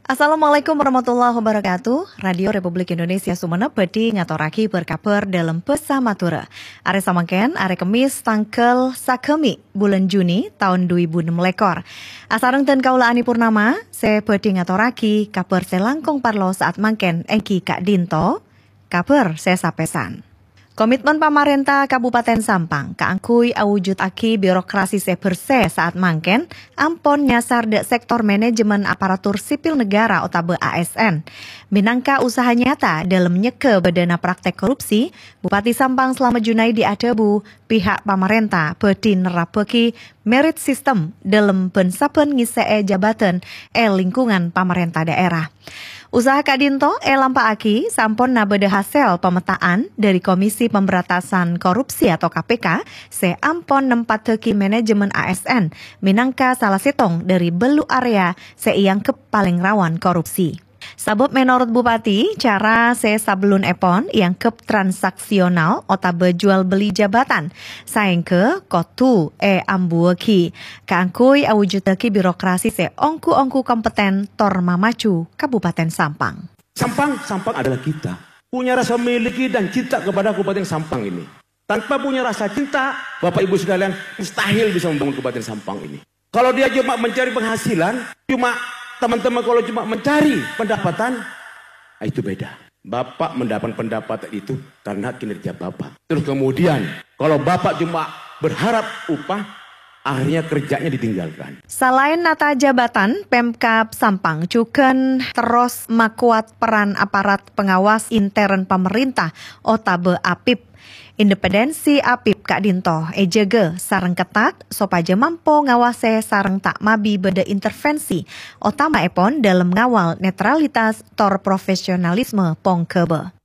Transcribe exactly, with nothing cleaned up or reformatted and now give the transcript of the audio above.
Assalamualaikum warahmatullahi wabarakatuh. Radio Republik Indonesia Sumenep bhâdhi ngatorraghi bâr-kabhâr dâlem bhâsa Madhurâ. Arè samangkèn, arè Kemmis, tangghâl sagâmè' bulân Juni taon du èbu ennem lèkor. Asareng dân kaulâ Ani Purnama, sè bhâdhi ngatorraghi kabhâr sè langkong parlo sa'at mangkèn èngghi ka'dinto, kabhâr sè sapèsan. Komitmen pamarènta Kabupaten Sampang kaangghuy awujudaghi birokrasi sè bhersè sa'at mangkèn ampon nyasar dâ' sektor manajemen aparatur sipil negara otabâ A S N. Mènangka usaha nyata dâlem nyegghâ bâdâna praktek korupsi, Bupati Sampang Slamet Junaidi adhâbu, pihak pamarènta bhâdhi nerrappaghi merit system dâlem bân-sabbhân ngèssè'è jabatan è lingkungan pamarènta daerah. Usaha ka'dinto èlampa'aghi samponna bâdâ hasèl pametta'an dâri Komisi Pemberantasan Korupsi atau K P K sè ampon nempaddhâghi manajemen A S N mènangka sala sèttong dâri bâllu' area sè èangghep palèng rawan korupsi. Sabâb mènorot Bupati, cara sè sabellunèpon èangghep transaksional otabâ jual beli jabatan, saèngghâ kodhu èambuwâghi kaangghuy awujuddhâghi birokrasi sè ongghu-ongghu kompeten tor mamaju Kabupaten Sampang. Sampang, Sampang adalah kita. Punya rasa memiliki dan cinta kepada Kabupaten Sampang ini. Tanpa punya rasa cinta, Bapak Ibu sekalian, mustahil bisa membangun Kabupaten Sampang ini. Kalau dia cuma mencari penghasilan, cuma teman-teman kalau cuma mencari pendapatan, ah, itu beda. Bapak mendapatkan pendapatan itu karena kinerja Bapak. Terus kemudian, kalau Bapak cuma berharap upah, akhirnya kerjanya ditinggalkan. Salaèn nata jabatan, Pemkab Sampang jhughân terros makowat peran aparat pengawas intern pamarènta otabâ APIP. Independensi APIP ka'dinto èjâgâ sareng ketat sopajâ mampo ngawasè sareng ta' mabi bâdâ intervensi, otama'èpon dâlem ngawal netralitas tor profesionalisme pongghâbâ.